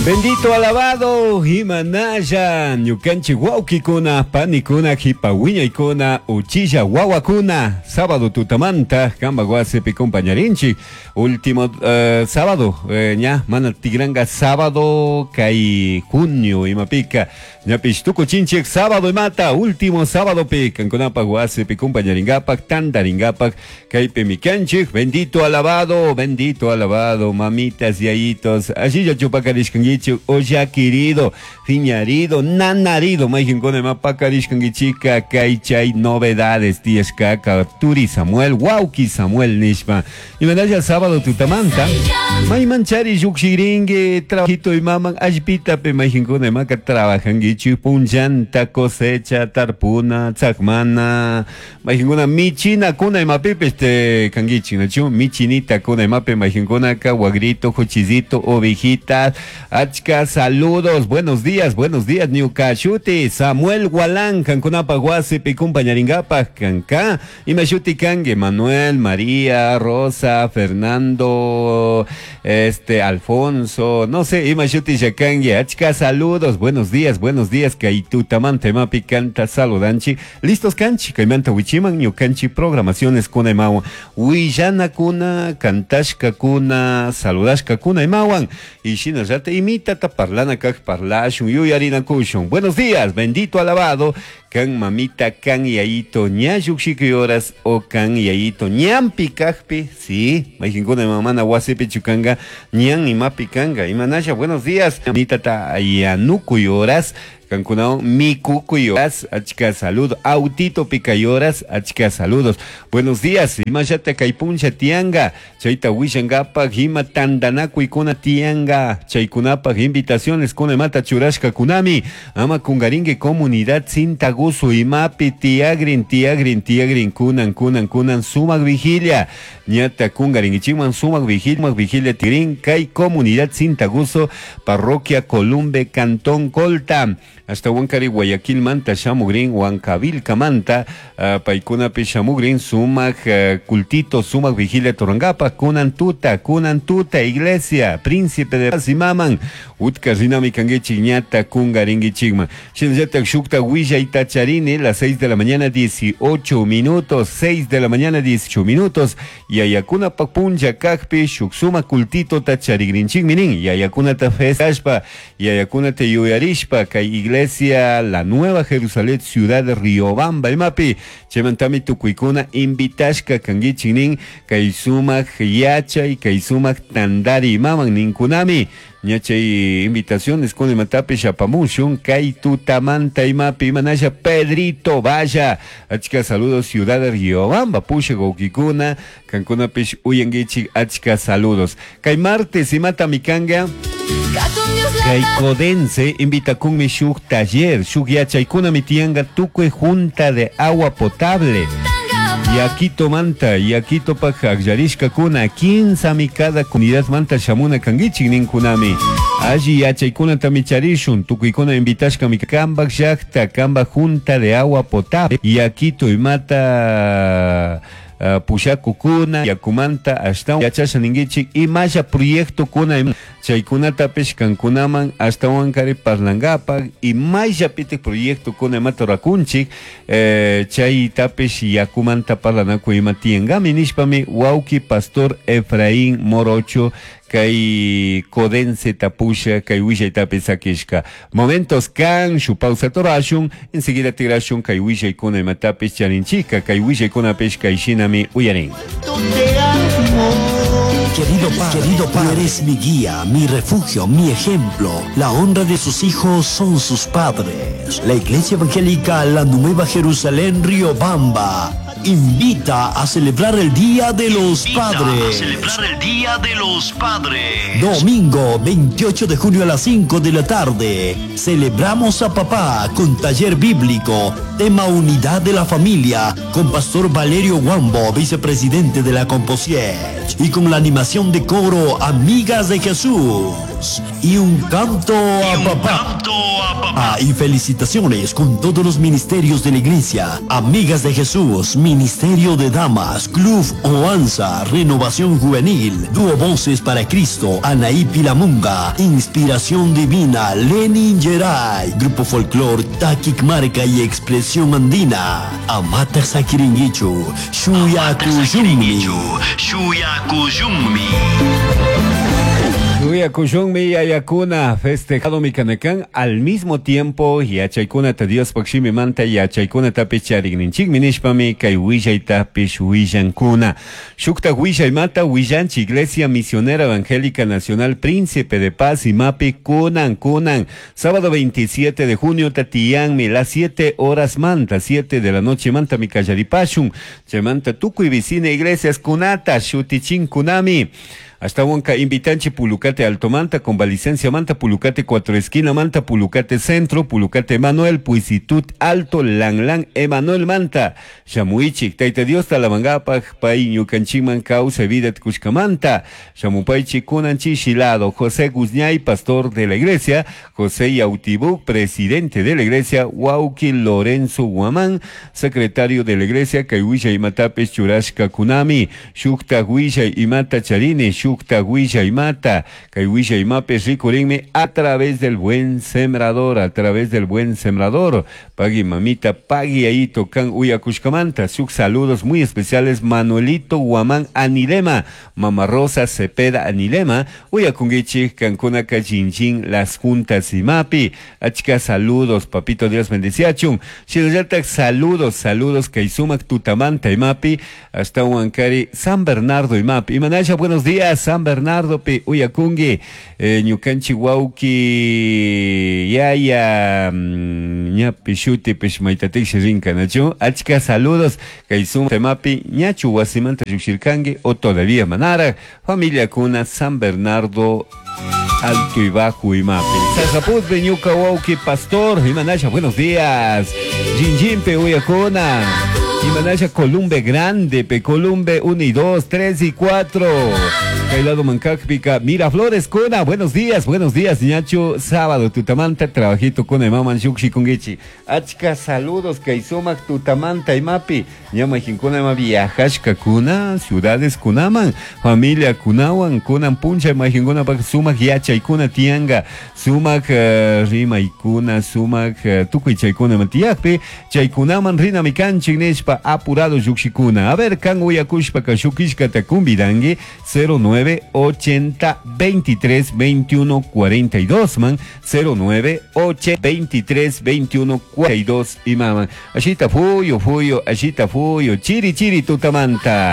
Bendito alabado Himanaya, ñukanchik wawkikuna, panikuna, hipa wiñaykuna, uchilla wawakuna, sábado tutamanta, kambak wasipi compañarinchik, último sábado, ña, mana tigranga sábado kay junio imapika, ñapish tukuchinchik sábado imata, último sábado pi, kankunapak wasipi compañaringapak, tantaringapak, kaypimi kanchik, bendito alabado, bendito alabado, mamitas, yayitos, allilla chupakarishkankichik, o llaquirido, fiñarido, nanarido, mayqinkuna ima pakarishkankichika, kay chay novedades tiyashkaka, turi Samuel, wawki Samuel nishpa, imanalla sábado tutamanta, mayman chari llukshirinki, trabajito imaman, allpitapi mayqinkuna imaka trabajankichik, punllanta cosecha, tarpuna, tzakmana, mayqinkuna michinakuna imapipis este kankichik, nachu michinita kuna imapi mayqinkunaka, wagrito, juchizito, ovejita, achka saludos, buenos días, ñuka shuti, Samuel Gualán, kankunapaj wasipi compañaringapak, kanka, ima shuti kanki, Manuel, María, Rosa, Fernando, Alfonso, no sé, ima shuti kanki, achka saludos, buenos días, kay tutamanta imapi kanta saludanchi, listos kanchi, kaymanta wichiman, ñukanchi programaciones kuna imawan, willanakuna, kantashkakuna, saludashkakuna imawan, y shinallata imitata parlana kak parlashun, yuyarinakushun. Buenos días, bendito alabado, kan mamita, kan yayito, ña llukshiku horas, o kan yayito, ñampi kakpi, sí, mayqinkuna mamana wasipi chukanga, ñan imapi kanga, imanasha, buenos días, mitata yanukuy horas, kankunao mikukuy horas, achka saludo, autito pikay horas, achka saludos. Buenos días, imashata kaypuncha tianga, chayta wishangapak, ima tandanakuykuna tianga, chaykunapak invitaciones kuna imata churashka kunami, ama kungaringue comunidad Cintaguso imapi tiagrin, tiagrin, tiagrin, kunan, kunan, kunan, sumak vigilia, ñata kungaringuichikman sumak vigilia, sumak vigilia tigrin, kay comunidad Cintaguso, parroquia Columbe, Cantón Colta. Hasta Huancari, Guayaquil manta, shamugrin, Huancavilca manta, paykunapi shamugrin, sumak cultito, sumak vigilia torangapa, kunan tuta, kunan tuta, iglesia, príncipe de paz y maman, utka rinami kanguichik ñata kungaringuichikman. Shinallata shukta willayta charini, las 6 de la mañana 18 minutos, 6 de la mañana 18 minutos, yayakuna puncha kakpi, shuk suma cultito tacharigrinchikminin, yayakuna ta festashpa, yayakuna te yuyarishpa, kay iglesia La Nueva Jerusalén, ciudad de Riobamba, imapi, chaymantami tukuykuna invitashka kankichik kay sumak yachay, kay sumak tandari imaman ninkunami, ñachay invitaciones con imatapish apamushun, kay tutamanta imapi, imanasha Pedrito Vaya, achka saludos ciudad de Riobamba, pusha wawkikuna, kankunapish uyankichik, achka saludos. Kay martes imata mikanga, kay Codense invita kunmi shuk taller, shuk yachaykuna mitianga tukuy junta de agua potable. Yaquito manta, Yaquito pak akllarishkakuna, 15 cada comunidad manta shamuna kankichik ninkunami. Alli yachaykunata micharishun, tukuykuna invitashkami kambak llakta, kambak junta de agua potable. Yaquito imata pushakukuna, yakumanta ashtawan yachasha ninkichik, imasha proyectokuna chaykunatapish kankunaman ashtawan kari parlangapak, imashapitik proyectokuna imata rurakunchik, chaytapish yakumanta parlanaku ima tiyankami nishpami wawki pastor Efraín Morocho kay Codense tapusha kay willaytapi sakishka. Momentos kan shu pausa torashun, enseguida tigrashun kay willaykuna imatapish charinchika, kay willaykunapish kay shinami uyarin. Querido padre, eres mi guía, mi refugio, mi ejemplo. La honra de sus hijos son sus padres. La Iglesia Evangélica La Nueva Jerusalén Riobamba invita a celebrar el Día de los Padres. A celebrar el Día de los Padres. Domingo 28 de junio a las 5 de la tarde. Celebramos a papá con taller bíblico, tema unidad de la familia, con Pastor Valerio Guambo, vicepresidente de la Composier. Y con la animación de coro Amigas de Jesús. Y un canto a papá. Ah, y felicitaciones con todos los ministerios de la iglesia. Amigas de Jesús, Ministerio de Damas, Club Oanza, Renovación Juvenil, Dúo Voces para Cristo, Anaí Pilamunga, Inspiración Divina, Lenin Geray, Grupo Folclor, Takik Marca y Expresión Andina, Amata Sakiringuichu, Shuya Kuyummi. Shuya Kuyummi. Kushunmi yayakuna festejado mi kanakan al mismo tiempo yachaykunata Diospaq shimimanta yachaykunatapish charikninchikmi nishpami kay willaytapish willankuna. Shuktak willaymanta willanchik Iglesia Misionera Evangélica Nacional Príncipe de Paz imapi kunan kunan sábado 27 de junio tatiyanmi las 7 horas manta 7 de la noche manta mi kallaripashun chaymanta tukuy vicina iglesias kunata shutichinkunami. Hasta Huanca invitanchi Pulucate Alto Manta, Convalicencia Manta, Pulucate Cuatro Esquina Manta, Pulucate Centro, Pulucate Emanuel, Puisitut Alto, Lang Lang, Emanuel Manta, Shamuichik, Taita Dios Talamangapaj, Pai Ñucanchiman Causa Vida Tcushcamanta, Shamupaichi Kunanchi Shilado, José Guzñay, pastor de la iglesia, José Yautibuk, presidente de la iglesia, Huauqui Lorenzo Guamán, secretario de la iglesia, Kaiwisha Imatapes Churashka Kunami, Shukta Huisha Imata Charini, Shukta Huisha Imata, Kaiwisha Imapes Ricurinme, a través del buen sembrador, a través del buen sembrador. Pagui mamita, pagui ahí tocan Uyacushcamanta. Shuk saludos muy especiales, Manuelito Guamán Anilema, Mama Rosa Cepeda Anilema, Uyacunguichi, Cancuna Cachinchín, Las Juntas Imapi. Achka saludos, papito Dios bendeciachun. Shinallatak saludos, saludos, Kaisumac Tutamanta Imapi, hasta Huancari, San Bernardo Imapi. Imanasha, buenos días, San Bernardo pi Uyacungui, Ñukanchi Wauki, Yaya, ñapi shuti pish maitatik rinka nachu. Achka saludos, Kaisum Temapi, ñachu wasimanta llushirkangi, o todavía manara, familia kuna San Bernardo Alto y Bajo Imapi. Sasaputpe, ñuka wauki pastor, Imanasha, buenos días. Jinjimpe, Uyacuna. Imanasha, Columbe Grande, pe Columbe 1 y 2, 3 y 4. Kailado Mancacpica, Miraflores, Cuna, buenos días, ñacho, sábado, Tutamanta, trabajito con Emaman Shuxi Kungichi. Achka, saludos, Kaisumac, Tutamanta, Imapi, ñama Jinkuna, Ima viajashka, Kuna, ciudades Kunaman, familia Kunawan, Kunan Puncha, Ima Jinkuna, Pak, Sumac, Yacha, Kuna, Tianga, Sumac, Rima, Ikuna, Sumac, Tukuy, Chaykuna, Matiakpi, Chaykunaman, Rina, Mikanchik, Nishpa, apurado, Yuxikuna. A ver, Kan, Uyakushpa, Kashukishka, Takumbidangi, 09 80 23 21 42 man 09 8 23 21 42 y maman. Ashita fuyo fuyo, ashita fuyo, chiri chiri tutamanta.